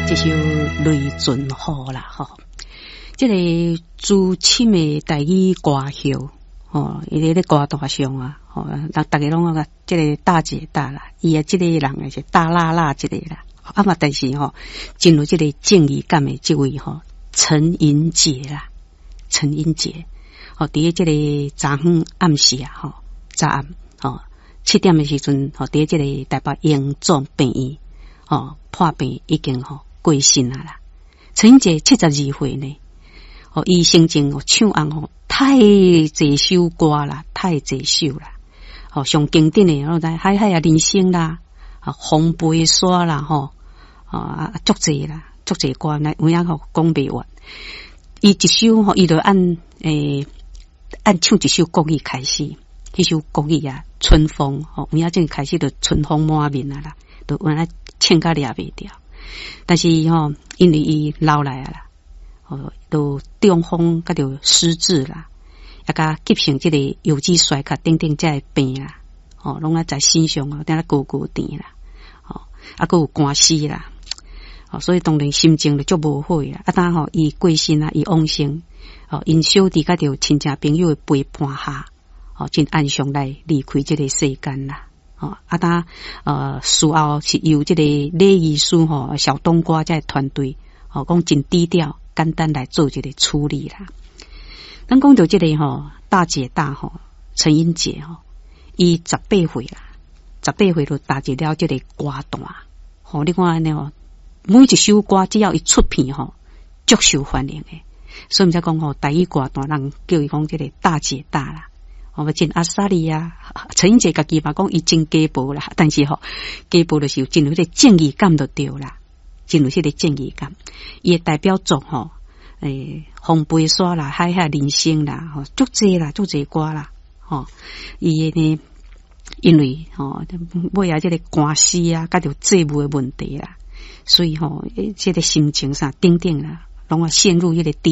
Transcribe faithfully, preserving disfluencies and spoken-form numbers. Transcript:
這首《雷陣雨》啦，吼，這個資深的台語歌后，吼，伊佇咧歌壇上啊，吼，逐逐家攏講這個大姐大啦，伊啊這個人是大辣辣一個啦，啊嘛，但是吼，真有這個正義感的這位吼，陳盈潔啦，陳盈潔，吼，佇咧這個昨昏暗時啊，吼，昨暗，吼，七點的時陣，吼，佇咧這個台北榮總病院，吼，破病已經吼過身啊啦。陳盈潔七十二歲呢，吼，伊生前唱紅吼太濟首歌啦，太濟首啦，吼，上經典的，我知海海啊人生啦，啊風飛沙啦，吼，啊足濟啦，足濟歌，來有影吼講袂完。伊一首吼，伊就按欸按唱一首國語開始，彼首國語啊，春風吼，有影正開始就春風滿面啊啦，就原來唱甲掠袂牢。但是吼，因為伊老來啊啦，哦，都中風佮著失智啦，抑佮急性這個有機衰竭等等這个病啦，吼，攏愛在身上哦，定咧高高甜啦，吼，啊，閣有官司啦，哦，所以當然心情就足無好啦。啊，當吼伊過身啊，伊往生，哦，𪜶小弟佮著親戚朋友的陪伴下，哦，真安詳來離開這個世間啦。哦，啊，當呃，事後是由這個禮儀師吼小冬瓜這個團隊，吼，講真低調、簡單來做這個處理啦。咱講著這個吼大姐大吼陳盈潔吼，伊十八歲啦，十八歲就踏入了這個歌壇。吼，你看按呢吼，每一首歌只要一出片吼，足受歡迎的。所以毋才講吼，台語歌壇人叫伊講這個大姐大啦。哦，真阿莎莉啊，陳盈潔家己嘛講伊真雞婆啦，但是吼雞婆就是有真有彼個正義感就對啦，真有彼個正義感。伊的代表作吼，欸，風飛沙啦，海海人生啦，吼，足濟啦，足濟歌啦，吼，伊的呢，因為吼尾仔這個官司啊，佮著債務的問題啦，所以吼，這個心情啥等等啦，攏啊陷入彼個低。